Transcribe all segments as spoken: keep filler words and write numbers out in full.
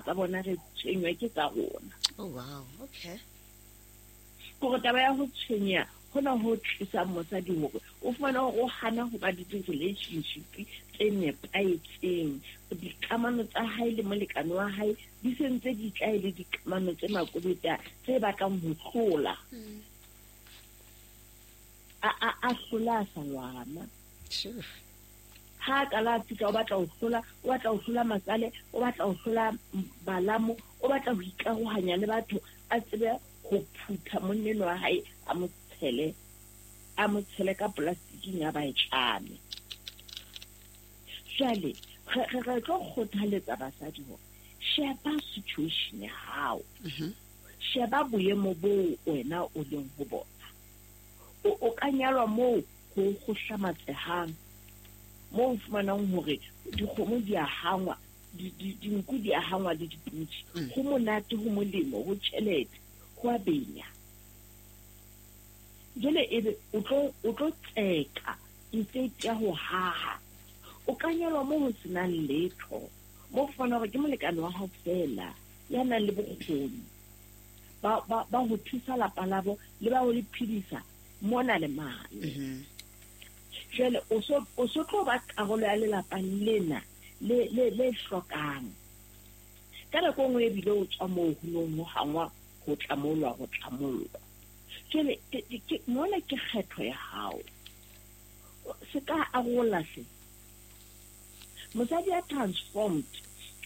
Tsa bona re tshwenywa ke tsa rona. Oh wow, okay. Kore taba ya ho tshwenya hona ho tlisang mosadi hore o fumane hore o hana ho ba le di-relationship tse nepahetseng. Dikamano tsa hae le molekane wa hae di sentse di tla e le dikamano tse makobeta tse batlang ho hlola. Mm. A, a, a hlola a sa lwana. Sure. Ha a qala a fihla o batla ho hlola, o batla ho hlola matsale, o batla ho hlola balamo, o batla ho ikarohanya le batho, a tsebe ho phutha monneno wa hae, a mo tshele, a mo tshele ka polastiking ya ba e tlame. Jwale, re, re, re tlo kgothaletsa basadi hore sheba situation ya hao. Mhm. Sheba boemo boo wena o leng ho bona. O, o ka nyalwa moo ho ho hlamatsehang, moo o fumanang hore dikgomo di a hangwa, di, di, dinku di a hangwa le dipudi. Mm. Ho monate, ho molemo, ho tjhelete, ho a benya. Jwale ebe o tlo, o tlo tseka effect ya ho haha. O ka nyalwa moo ho senang letho, moo o fumanang hore ke molekane wa hao feela ya nang le bokgoni ba, ba, ba ho thusa lapa labo le ba ho le phedisa mona le mane. Mm-hmm. Jwale o so, o so tlo ba karolo ya lelapa lena le, le, le hlokang. Ka nako e nngwe ebile o tswa moo ho nong ho hangwa ho tlamollwa, ho tlamollwa. Jwale, ke, ke, ke, mona ke kgetho ya hao. Se ka arola hle. Mosadi ya transformed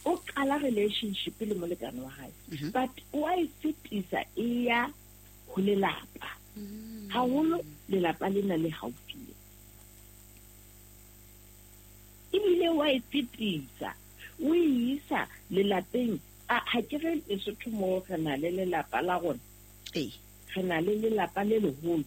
o qala relationship le molekane wa hae. Mm-hmm. But o a e fetisa e ya ho lelapa. Mm. Haholo lelapa lena le haufi. Ebile wa e fetisa, o e isa lelapeng. A, ha ke re Lesotho moo re na le lelapa la rona. Ee. Re na le lelapa le leholo.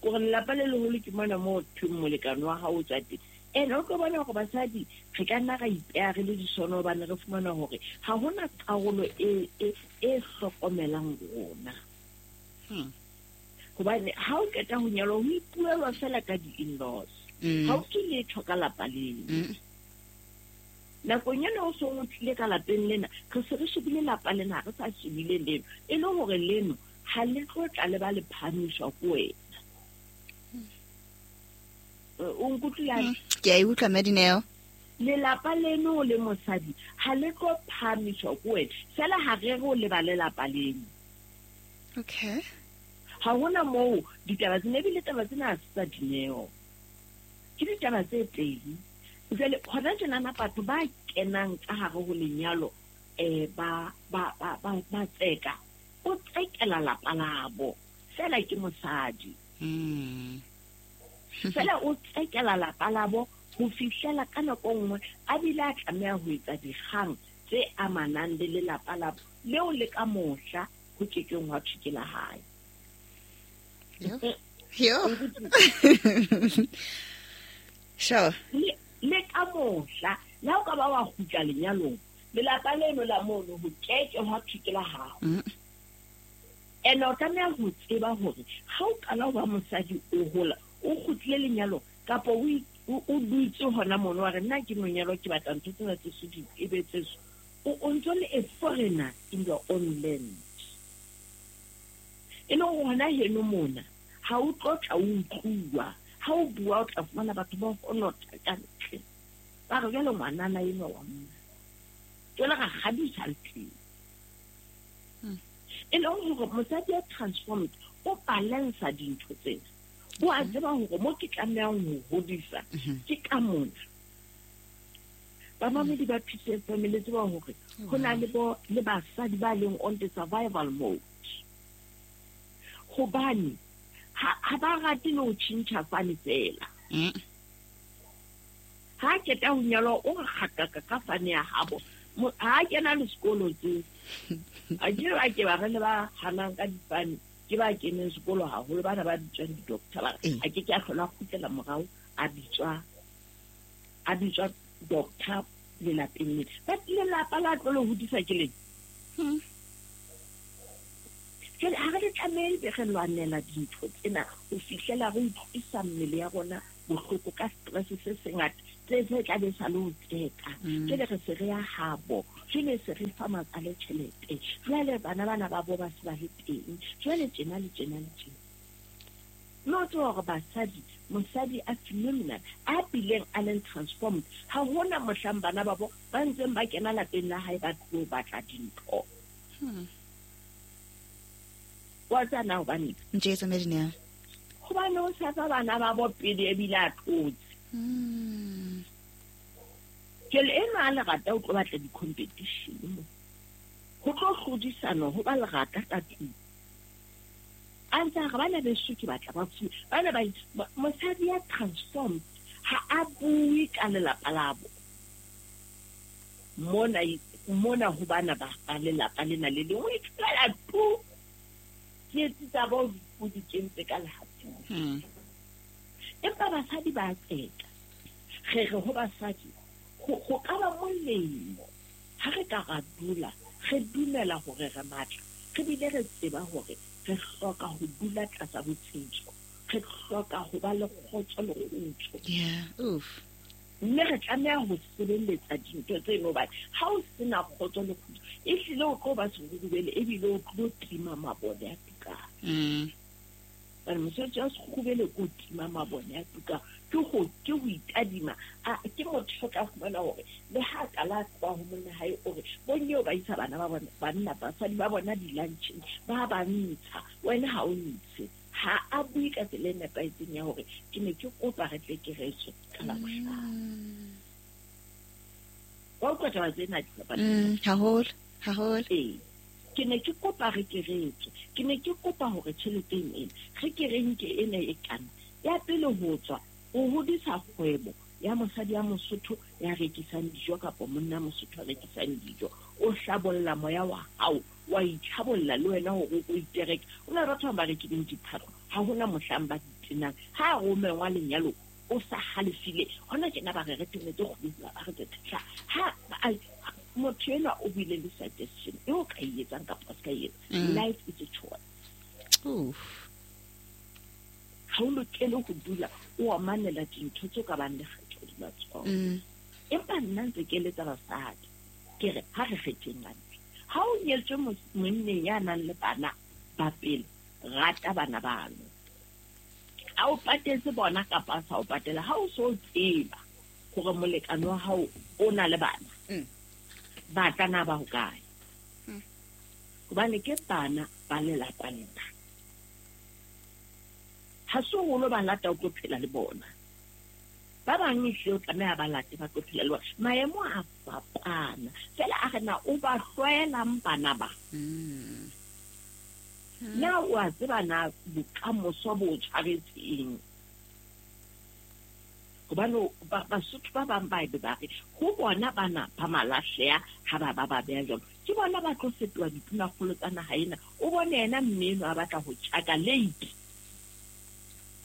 Kore lelapa le leholo ke mona moo thweng molekane wa hao o tswa teng. And o tlo bona hore basadi re ka nna ra ipeha re le disono hobane re fumana hore ha hona karolo e, e, e hlokomelang rona. Hmm. Hobane ha o qeta ho nyalwa ho ipuelwa fela ka di-in-laws. Mm. Ha o ke letho ka lapa leno. Mm. Nakong ena o song o tlile ka lapeng lena, re se re shebile lapa lena, ha re sa shebile leno. E le hore leno ha le tlo tla le ba le phahamiswa ke wena. Eh, o nkutlwile hantle? Mm. Ke a e utlwa, Madineo. Lelapa leno le mosadi ha le tlo phahamiswa ke wena. Feela ha re re o leba lelapa leno. Okay. Ha hona moo ditaba tsena, ebile taba tsena ha se tsa Dineo. Ke ditaba tse teng. Jwale hona tjenana batho ba kenang ka hare ho lenyalo, eh, ba, ba, ba, ba, ba tseka. O tsekela lapa labo. Feela ke mosadi. Mm. Feela o tsekela lapa labo ho fihlela ka nako nngwe a bile a tlameha ho etsa dikgang tse amanang le lelapa labo leo le ka mohla ho kekeng hwa thwe ke la hae. Yo. Yo. Sure. Le, le ka mohla, le ha o ka ba wa kgutla lenyalong, lelapa leno la mono ho keke hwa thwe ke la hao. Mm. Ene o tlameha ho tseba hore ha o qala ho ba mosadi o hola, o kgutlile lenyalong, kapa o i-, o, o dutse hona mono wa re, nna ke no nyalwa, ke batla ntho tsena tse so di e be tse so. O, o ntso le a foreigner in your own land. E leng hore hona heno mona, ha o tlo tla o utluwa. Ha o bua o tla fumana batho ba honotha ka ntle. Ba re jwale ngwanana enwa wa monna. Jwale ra kgadisa le teng. Hmm. E leng hore mosadi ya transformed o balansa dintho tsena. O a Mhm. tseba hore mo ke tlamehang ho hodisa Mhm. ke ka mona. Bamamedi ba P C F M le tseba hore ho na le bo, le basadi ba leng on the survival mode. Hobane ha, ha ba rate le ho tjhentjha fane fela. Mm. Ha a qeta ho nyalwa, o re kgataka ka fane ya habo. Mo-, ha a kena le sekolo tseo. A ke ba ke ba re le ba hanang ka difane, ke ba keneng sekolo haholo, bana ba bitswang di-doctor, ba re, Ee. a ke ke a hlola a kgutlela morao, a bitswa, a bitswa doctor lelapeng lena. But lelapa la tlo le hodisa ke leng? Hmm. Jwale ha re le tlamehe be re lwanela dintho tsena ho fihlela re utlwisa mmele ya rona bohloko ka stress se sengata Tse tse tla be sa le ho tseka. Jwale re se re ya habo. Jwale se re fa matsale tjhelete. Jwale bana bana ba bo ba se ba le teng. Jwale tjena le tjena le tjena. No tswa hore basadi, mosadi a phenomenal, a bileng a leng transformed. Ha hona mohlang bana ba bo ba ntseng ba kena lapeng la hae ba tlo batla dintho. Wa tsana hobane? Ntjetsa Medina. Hobane o sa fa bana ba bo pele ebile a tlotse. Mm. Jwale enwa a lerata o tlo batla di-competition mo. Ho tlo hlodisana ho ba lerata ka tlung. A ntse a re bana beso ke batla ba fuwe. Bana ba mosadi ya transformed ha a bue ka lelapa labo. Mona mona ho bana ba ba lelapa lena le lengwe o ithulela tu. Tsietsi tsa bo o di kentse ka lehatong. Mm. Empa basadi ba tseka. Re re ho basadi ho ka ba molemo ha re ka ra dula re dumela hore re matla, re bile re tseba hore re hloka ho dula tlasa botsitso, re hloka ho ba le kgotso le kgutso. Yeah, oof. Mme re tlameha ho sebeletsa dintho tseno hobane ha o sena kgotso le kgutso, ehlile o tlo ba serurubele ebile o tlo tima mabone a tukang. Mm. Hobane mosebetsi wa serurubele ke ho tima mabone a tukang, ke ho ke ho itadima. A ke motho o tla fumana hore le ha ka la tloha ho monna hae o re bonyeo ba isa bana ba bona, banna basadi ba bona di-luncheng, ba ba ntsha, wena ha o ntshe. Ha a bue ka tsela e nepahetseng ya hore ke ne ke kopa re tle ke retswe ka Labohlano. Wa utlwa taba tsena di fapane? Mm, haholo, haholo. Ee. Ke ne ke kopa re ke retswe. Ke ne ke kopa hore tjheleteng ena re ke re nke ena e kana. Ya pele ho tswa o hodisa kgwebo ya mosadi ya Mosotho ya rekisang dijo kapa monna Mosotho ya rekisang dijo. O hlabolla moya wa hao, wa itlhabolla le wena hore o itereke. O na le batho ba rekileng diphahlo, ha hona mohlang ba di tenang. Ha romengwa lenyalo o sa halefile, hona tjena ba re re tenetse kgwedi ba re tsetla. Ha motho enwa o buile le suggestion e o ka e etsang kapa o se ka e etsa. Mm. Life is a choice. Oof. Ha o lokele ho dula o amanela dintho tseo ka bang le kgetho hodima tsona. Mm. Empa nna ntse ke eletsa basadi, ke re ha re kgetheng hantle. Ha o nyetswe monneng ya nang le bana ba pele, rata bana bano. Ha o patetse bona kapa a sa o patela, ha o so tseba hore molekane wa hao o na le bana, Mm. ba tla na ba hokae? Mm. Hobane ke bana ba lelapa lena. Ha se holo ba lata o tlo phela le bona. Ba bang ehlile o tlameha ba late ba tlo phela le bona. Maemo a fapana. Feela a re na o ba hlwaelang bana ba. Mm. Na o a tseba na bokamoso bo o tshwaretseng? Hobane Basotho ba bang ba ebe ba re ho bona bana ba malahleha ha ba ba ba beha jwalo. Ke bona ba tlo fetoha ditunakgolo tsa naha ena. O bone yena mme enwa a batla ho tjhaka late.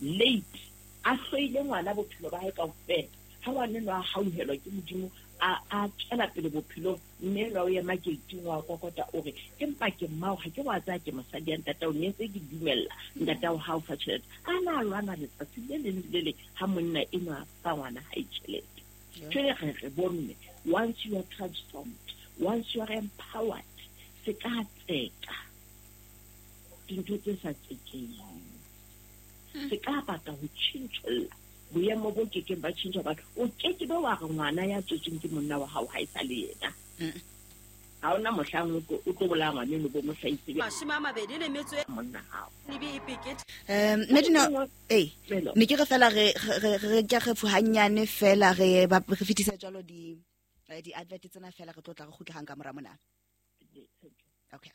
Late. A hloile ngwana bophelo ba hae kaofela. Ha ngwana enwa a hauhelwa ke Modimo, a a tswela pele bophelong, mme enwa o ema gate-ing wa kokota o re, empa ke mmao, ha ke wa tsaya ke mosadi ya ntatao, ne ntse ke dumella ntatao ha o fa tjhelete. A na a lwana letsatsi le leng le leng ha monna enwa a fa ngwana hae tjhelete. Jwale re re bomme, once you are transformed, once you are empowered, se ka tseka dintho tse sa tsekeng. Se ka batla ho tjhentjholla boemo bo kekeng ba tjhentjha batho. O keke be wa re ngwana ya tswetsweng ke monna wa hao ha e sa le yena. Mm. Ha hona mohlang o tlo, o tlo bolaya ngwana eno bo mo hlahisele Mashome a mabedi le metso e monna hao. Lebe e pekete. Um, Medina, eh, Melo. ne ke re fela re, re, re, re ke re hanyane fela re ba re fetisa jwalo di, eh, di advert tsena fela re tlo tla re kgutla hang ka mora mona. Okay.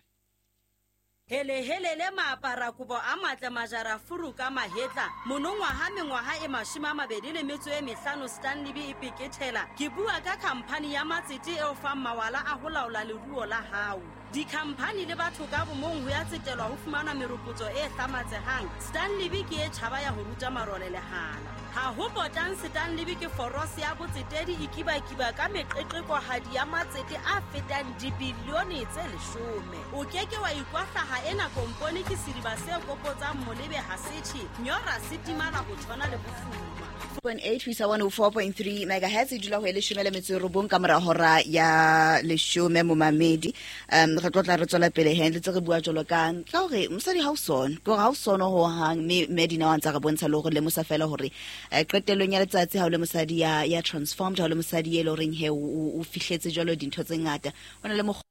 Hele hele le maapara kobo a matle majara furu ka mahetla. Monongwaha mengwaha e mashome a mabedi le metso e mehlano Stanley B e pekethela. Ke bua ka khamphani ya matsete e o fang mawala a ho laola leruo la hao. Dikhamphani le batho ka bomong ho ya tsetelwa ho fumana meropotso e hlamatsehang. Stanley ke e tjhaba ya ho ruta marole lehala. Ha ho potang Stanley ke forose ya botsetedi e kibakiba ka meqeqekohadi ya matsete a fetang dibilione tse leshome. O keke wa ikwahlaha ena kompone ke sediba se kopotsang molebe ha setjhe, nyora se timala ho tshwana le bofuma. Point eight ho isa one oh four point three megahertz e dula ho e leshome le metso e robong ka mora hora ya leshome momamedi. Um re tlotla re tswela pele he ntse re bua jwalo ka ka hore mosadi ha o sona ke hore ha o sona ho hang mme Medina wa ntsa re bontsha le hore le mosa fela hore qetellong ya letsatsi ha o le mosadi ya ya transformed, ha o le mosadi e le horeng he o fihletse jwalo dintho tse ngata, o na le mokgwa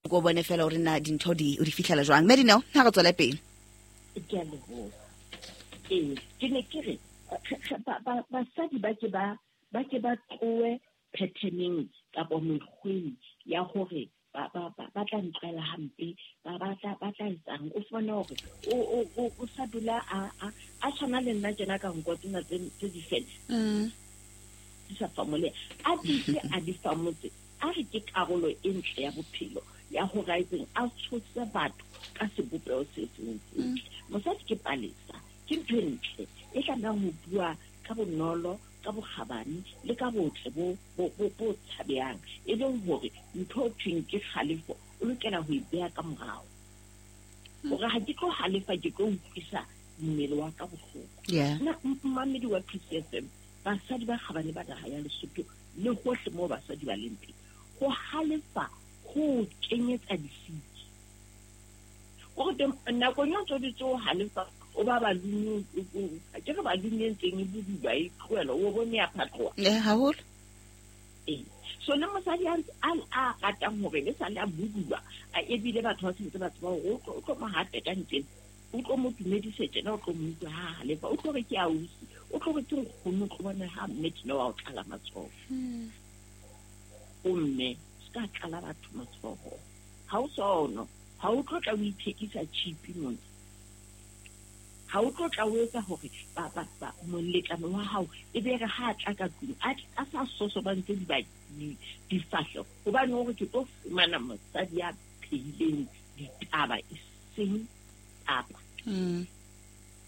o bone fela hore na dintho di o di fihlela jwang. Medina ha re tswela pele. Ke a leboha. Ee, ke ne ke re basadi ba ke ba ba ke ba tlohe patterneng kapa mekgweng ya hore ba ba ba tla ntlwela hampe, ba ba tla ba tla etsang. O fumane hore o o o sa dula a a a tshwana le nna tjena ka nko tsena tse tse di fela di sa famole a di a di famotse a re ke karolo e ntle ya bophelo ya ho raitseng a tshotse batho ka sebopeho se seng setle. Mosadi ke palesa, ke ntho e ntle e tlamehang ho bua ka bonolo, ka bokgabane le ka botle bo bo bo tshabehang, e leng hore ntho e thweng ke kgalefo o lokela ho e beha ka morao. Hore ha ke tlo halefa ke tlo utlwisa mmele wa ka bohloko. Nna mmamedi wa P C F M, basadi ba kgabane ba naha ya Lesotho le hohle moo basadi ba leng teng, ho halefa ho kenyetsa disiki. Hore nakong ya ntso di tso halefa o ba balune, ke re balune ntseng e buduba e tlohela o bone ya phatloha. Eh haholo. Ee. So le mosadi a a ratang hore le sa le a buduba, a ebile batho ba sentse ba tseba hore o tlo mo hape ka ntleng, o tlo mo tumedise tjena, o tlo mo utlwa ha halefa, o tlo re ke ausi, o tlo re ke nkgono, o tlo bona ha mme tjena wa o tlala matsoho. O mme se ka tlala batho matsoho. Ha o sono, ha o tlo tla o ithekisa chipi mona. Ha o tlo tla o etsa hore ba ba ba molekane wa hao e be re ha tla ka tlung a a sa sosobantse di ba difahleho, hobane hore ke tlo fumana mosadi ya phehileng ditaba e seng papa.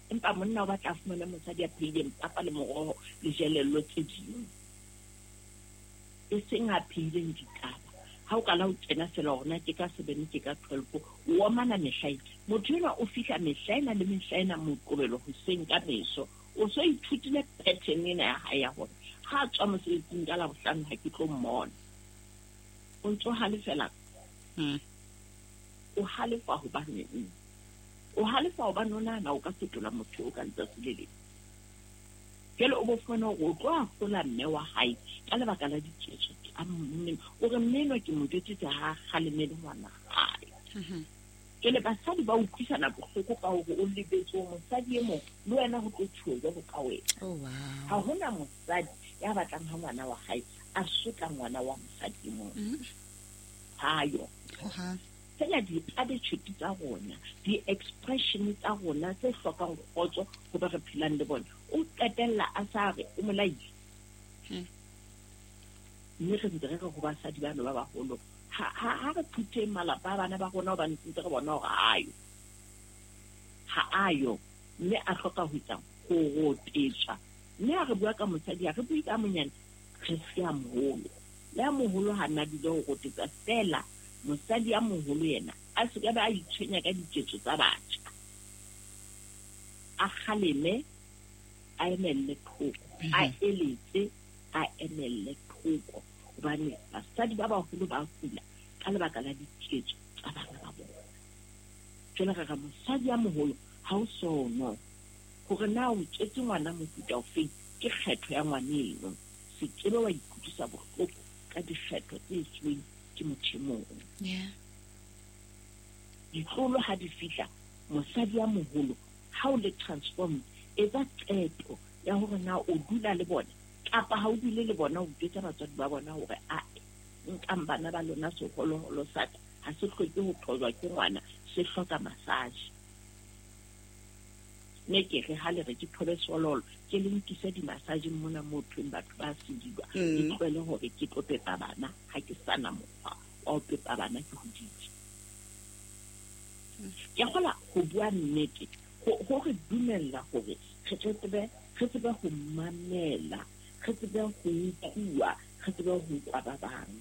Empa monna o batla fumana mosadi ya phehileng papa le moroho le jelello tse ding, e seng a phehileng ditaba. Ha o kala o kena fela hore na ke ka seven ke ka twelve, o omana mehlaena. Motho enwa o fihla mehlaena le mehlaena Moqobelo hoseng ka meso, o so ithutile pattern ena ya hae ya hore ha a tswa mosebetsing ka Labohlano ha ke tlo mmona. O ntso halefela. O halefa hobane o halefa hobane o nahana o ka fetola motho o ka letsatsi le leng. Jwale o bo fumana hore o tlo ahlola mme wa hae ka lebaka la diketso tsa mme, o re mme enwa ke mo jwetsitse ha kgalemele ngwana hae. Jwale basadi ba utlwisana bohloko ka hore o lebetse hore mosadi e mong le wena ho tlo thuwe jwalo ka wena. Ha hona mosadi ya batlang ha ngwana wa hae a sotla ngwana wa mosadi e mong. Hayo. Fela di-attitude tsa rona, di-expression tsa rona tse hlokang kgotso ho ba re phelang le bona, o qetella a sa re o molaile. Mme re ntse re re ho basadi bano ba baholo, ha ha re phutheng malapa a bana ba rona hobane ntse re bona hore ha ayo. Ha ayo, mme a hloka ho etsang ho rotetswa. Mme ha re bua ka mosadi, ha re bue ka monyane, re se a moholo. Le a moholo ha nna dule ho rotetsa fela. Mosadi ya moholo yena a se ka ba a itshwenya ka diketso tsa batjha, a kgaleme, a emelle thoko, a eletse, a emelle thoko, hobane basadi ba baholo ba kula ka lebaka la diketso tsa bana ba bona. Jwale re re mosadi ya moholo ha o sono hore na o tswetse ngwana mofuta ofeng, ke kgetho ya ngwaneno. Se kebe wa ikutlwisa bohloko ka dikgetho tse etsuweng ke motho e mong. Ditlolo ha di fihla, mosadi ya moholo ha o le transformed, etsa qeto ya hore na o dula le bona kapa ha o dule le bona, o jwetsa batswadi ba bona hore a nkang bana ba lona seholoholo sa ka ha se hloke ho thojwa ke ngwana, se hloka massage. Ne ke re ha le re ke thobe seholoholo, ke le nkise di-massageng mona moo thweng batho ba sedilwa, ke tlohele hore ke tlo pepa bana ha ke sana mokgwa wa ho pepa bana ke hoditse. Ke kgola ho bua nnete ho re dumella hore re tsebe re tsebe ho mamela, re tsebe ho utlwa, re tsebe ho utlwa ba bang,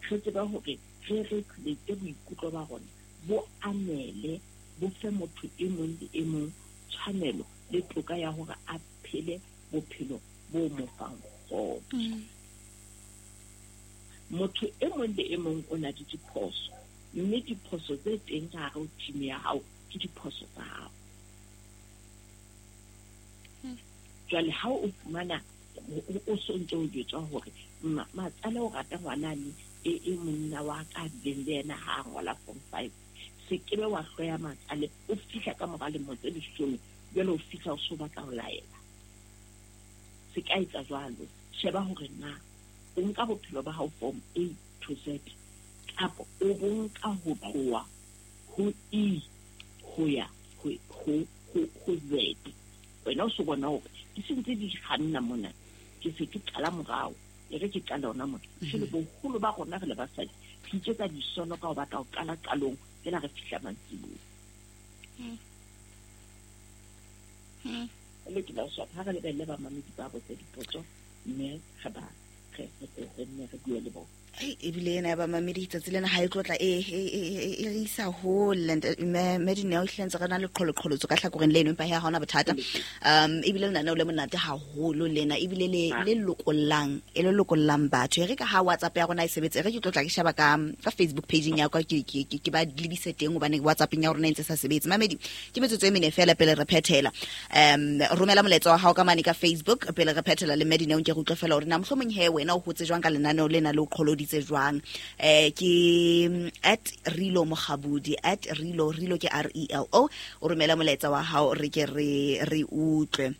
re tsebe hore re regulate boikutlo ba rona bo anele bo fe motho e mong le e mong tshwanelo le toka ya hore a phele bophelo bo mo fang kgotso. Motho e mong le e mong o na le diphoso, mme diphoso tse teng ka hare ho team ya hao ke diphoso tsa hao. Jwale ha o fumana o so ntse o jwetswa hore matsale o rata ngwanane e e monna wa ka bileng le yena ha a ngola form five, se kebe wa hloya matsale o fihla ka mora lemo tse leshome jwale o fihla o so batla ho laela. Se ka etsa jwalo, sheba hore na o nka bophelo ba hao from A to Z kapa o bo nka ho tloha ho E ho ya ho ho ho Z. Wena o so bona hore di sentse di kganna mona, ke se ke qala morao, e re ke qala hona mona. Jwale boholo ba rona re le basadi re iketsa disono ka ho batla ho qala qalong fela re fihla mantsiboya. Le ke la swap ha re lebelle ba mamedi ba botse dipotso mme re ba re re nne re bue le bona. Ebile ena ya bamamedi tsatsi lena ha e tlotla e e re isa hole mme Dineo ehlile ntse re na le qholoqholotso ka hlakoreng leno, empa ha hona bothata. Um ebile lenaneo le monate haholo lena, ebile le le lokollang e le lokollang batho. E re ka ha WhatsApp ya rona e sebetse, e re ke tlotla ke sheba ka ka Facebook page ya ka ke ke ke ba lebise teng hobane WhatsApp ya rona e ntse sa sebetse. Mamedi ke metsotso e mene fela pele re phethela. Um romela molaetsa wa hao ka mane ka Facebook pele re phethela le Dineo ke re utlwe fela hore na mohlomong he wena o hotse jwang ka lenaneo lena le o qholodi jwang. Eh ke at Relo Mokgabudi, at Relo, Relo ke R E L O, o romela molaetsa wa hao re ke re re utlwe.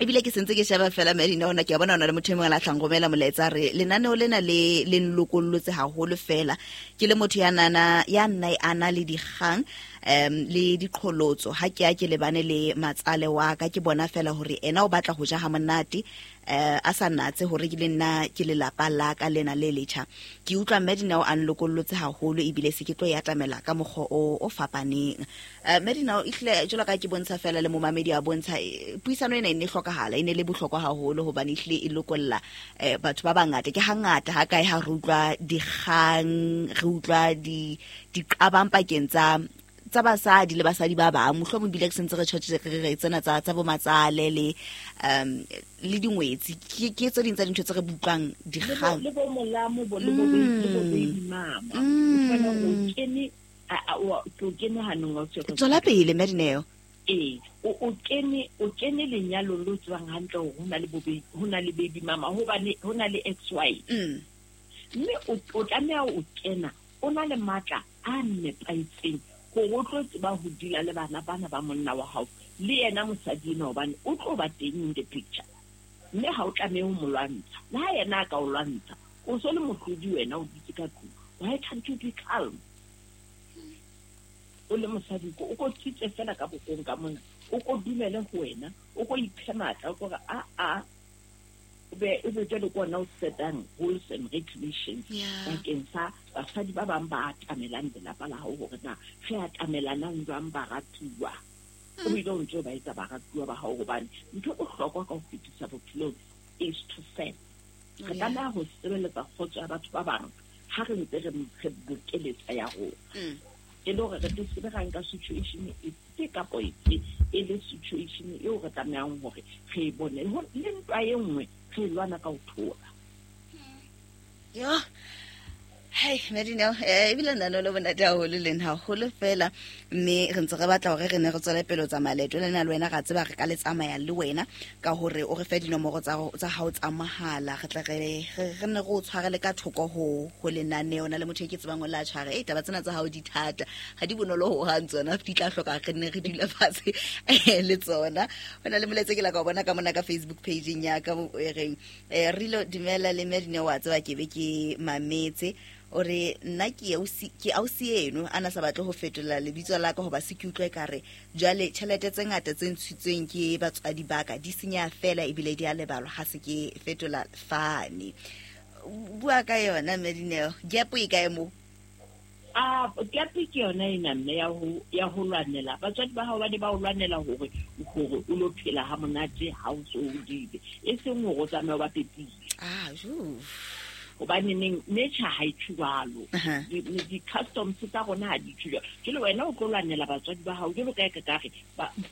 Ebile ke sentse ke sheba fela Medina ona ke a bona ona le motho e mongwe a tlang romela molaetsa re lenaneo lena le le nlokollotse haholo fela ke le motho ya nana ya nna a na le dikgang um le diqholotso ha ke a ke lebane le matsale wa ka ke bona fela hore ena o batla ho ja ha monate eh a sa natse hore ke le nna ke lelapa la ka lena le letjha. Ke utlwa Medina o a nlokollotse haholo ebile se ke tlo ya atamela ka mokgwa o o fapaneng. Eh Medina o ihle jalo ka ke bontsha fela le momamedi a bontsha puisano ena e ne hlokahala, e ne le bohlokwa haholo hobane ihle e lokolla eh batho ba bangata. Ke hangata ha kae ha re utlwa dikgang, re utlwa di diqabang pakeng tsa tsa basadi le basadi ba bang, mohlomong bile ke sentse re tjhotse re re tsena tsa tsa bo matsale le um le dingwetsi ke ke tse ding tsa dintho tse re butlwang dikgang le bo molamo bo le bo le bo baby mama o fana o kene a o o kene hanong wa tswe tswela pele Medineo. Ee o o kene o kene lenyalo lo tswang hantle hore hona le bo hona le baby mama hobane hona le ex wife mme o o tlameha o kena o na le matla a nepahetseng hore o tlo tseba ho dula le bana bana ba monna wa hao le yena mosadi ena hobane o tlo ba teng in the picture, mme ha o tlamehe ho mo lwantsha. Le ha yena a ka o lwantsha o so le mohlodi wena o dutse ka tlung, why can't you be calm? O le mosadi ko o ko tsitse fela ka bokong ka mona, o ko dumele ho wena, o ko iphe matla, o ko re a a o be o be jwale ke ona o setang rules and regulations bakeng sa basadi ba bang ba atamelang lelapa la hao hore na re atamelanang jwang baratuwa. O bile o ntse o ba etsa baratuwa ba hao hobane ntho e bohlokwa ka ho fetisa bophelong is to serve. Re tlameha ho sebeletsa kgotso ya batho ba bang ha re ntse re re bokeletsa ya rona. E le hore re tle sebe ra nka situation efe kapa efe e le situation eo re tlamehang hore re e bone le ntwa e nngwe re lwana ka ho thola. Yo Hey Medina, eh ebile nna le bonate haholo le nna haholo fela mme re ntse re batla hore re ne re tswele pele ho tsamaya leeto lena le wena, ra tseba re ka le tsamaya le wena ka hore o re fe dinomoro tsa tsa hao tsa mahala, re tle re re nne re o tshwarele ka thoko ho ho lenaneo na le motho e ke tsebang o la tshware. Eh taba tsena tsa hao di thata, ha di bonolo ho hang tsona, di tla hloka re nne re dule fatshe le tsona. Hona le molaetsa ke la ka o bona ka mona ka Facebook page ya ka e reng eh Relo dumela le Medina, wa tseba ke be ke mametse ore nna ke ausi ke ausi eno ana sa batle ho fetola lebitso la ka hoba se ke utlwe ka re jwale tjhelete tse ngata tse ntshitsweng ke batswadi ba ka di senya fela ebile di a lebalwa ha se ke fetola fane. Bua ka yona Medineo, gap e kae mo? A gap ke yona ena mme ya ho ya ho lwanela. Batswadi ba hao ba ne ba o lwanela hore hore o lo phela ha monate ha o so hodile. E seng hore o tsamaye ba pepile. Ah, jo. Hobane neng nature ha e tjhwalo. Di customs tsa rona ha di tjhwalo. Jwale wena o tlo lwanela batswadi ba hao jwalo ka ka ka re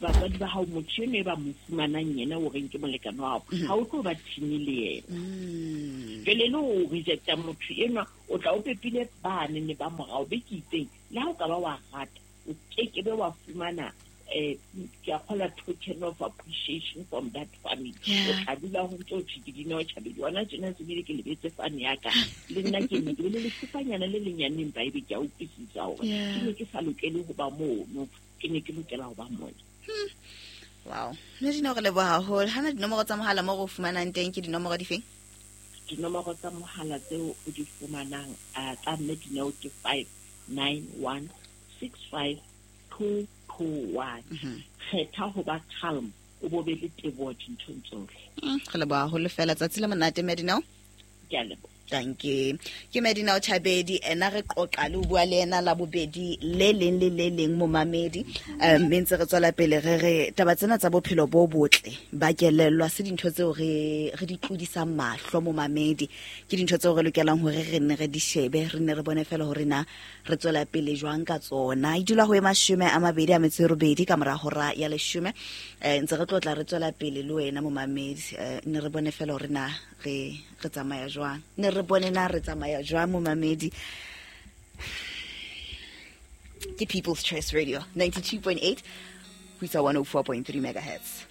batswadi ba hao motho eno e ba mo fumanang yena o reng ke molekane wa hao, ha o tlo ba thini le yena. Jwale le o rejecta motho enwa, o tla o pepile bane ne ba morao be ke itseng, le ha o ka ba wa rata, o kekebe wa fumana eh ke a kgola token of appreciation from that family. O tla dula ho ntso thwe ke Dineo Chabedi. Hona tjena se bile ke lebetse fane ya ka. Le nna ke ne ke le lesupanyana le lenyane empa ebe ke a utlwisisa hore ke ne ke sa lokele ho ba mono, ke ne ke lokela ho ba mona. Wow. Mme Dineo, re leboha haholo. Hana dinomoro tsa mohala mo re o fumanang teng ke dinomoro difeng? Dinomoro tsa mohala tseo o di fumanang tsa mme Dineo ke five nine one six five two two one. Kgetha ho ba calm, o bo be le teboho dinthong tsohle. Re leboha haholo fela. Tsatsi le monate mme Dineo. Ke a leboha. Thank you. Ke Medineo Chabedi, ena re qoqa le ho bua le ena la bobedi le leng le le leng momamedi. Mme ntse re tswela pele re re taba tsena tsa bophelo bo botle ba kelellwa se dintho tseo re re di tlodisang mahlo momamedi. Ke dintho tseo re lokelang hore re nne re di shebe, re nne re bone fela hore na re tswela pele jwang ka tsona. E dula ho e mashome a mabedi a metso e robedi ka mora hora ya leshome. Eh ntse re tlotla re tswela pele le wena momamedi, ne re bone fela hore na re re tsamaya jwang. Ne re bone na re tsamaya jwang momamedi. Ke People's Choice Radio ninety-two point eight ho isa one oh four point three megahertz.